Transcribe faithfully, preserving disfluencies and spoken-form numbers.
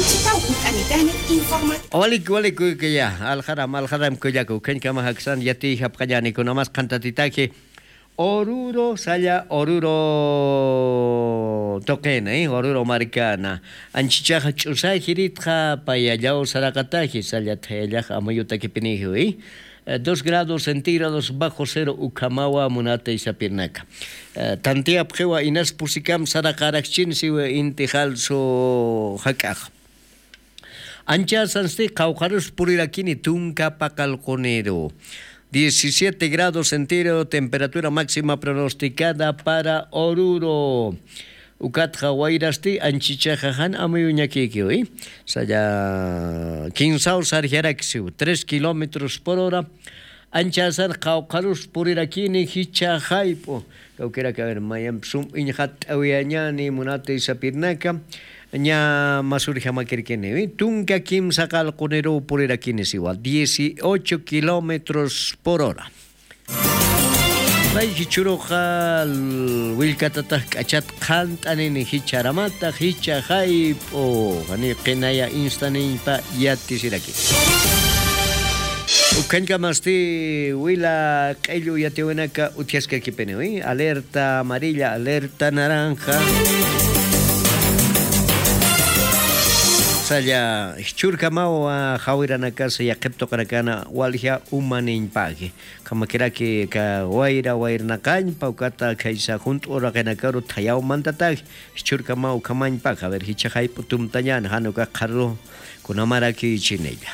Chipaw ukanitani informa. Walik walik kuykuya, alxaram alxaram kullaku khañkama jaksan yatiyjapxañani kunamas qhantatitaki. Oruro salla oruro tuqina, oruro markana. Anchichaxa ch'usajiritxa payallaw saraqataji salla thayallax amayutakipinijiwi. Dos grados centígrados bajo cero ukhamawa munata isapirnaka. Tantiyapxiwa inas pusikam saraqarakchinsiwi inti jalsu jak'ax. Anchasansti qawqharus purirakini tunka paqalquniru. Diecisiete grados centígrado temperatura máxima pronosticada para oruro. Ukatxa wayrasti anchichaxa jan amuyuñakikiwi. Saya kinsaw sarjaraksiw tres kilómetros por hora. Anchasar qawqharus purirakini jicha jayp'u. Kawkiraka ver mayampi sum iñxatt'awiyañani munata isapirnaka. Ña masurjamakirkiniwi tunka kimsa qalquniruw purirakini siwa dieciocho kilómetros por hora. Pay jichhuruxa willkatatax k'achat qhant'anini jichharamata jichha jayp'u. Jani qinaya instaniñpa yatisiraki. Ukhañkamasti wila q'ellu yatiwinaka utjaskakipiniwi alerta amarilla alerta naranja. Salla jichhurkamaw jawiranakas yaqhip tuqinakana walja umaniñpaki. Khamakiraki ka wayra wayrnaqañpa ukata khaysa junt'u raqinakaru thayaw mantatak. Jichhurkamaw ukhamañpaka ver jichha jayp'u tumtañan jan uka qharru kunamaraki chinilla.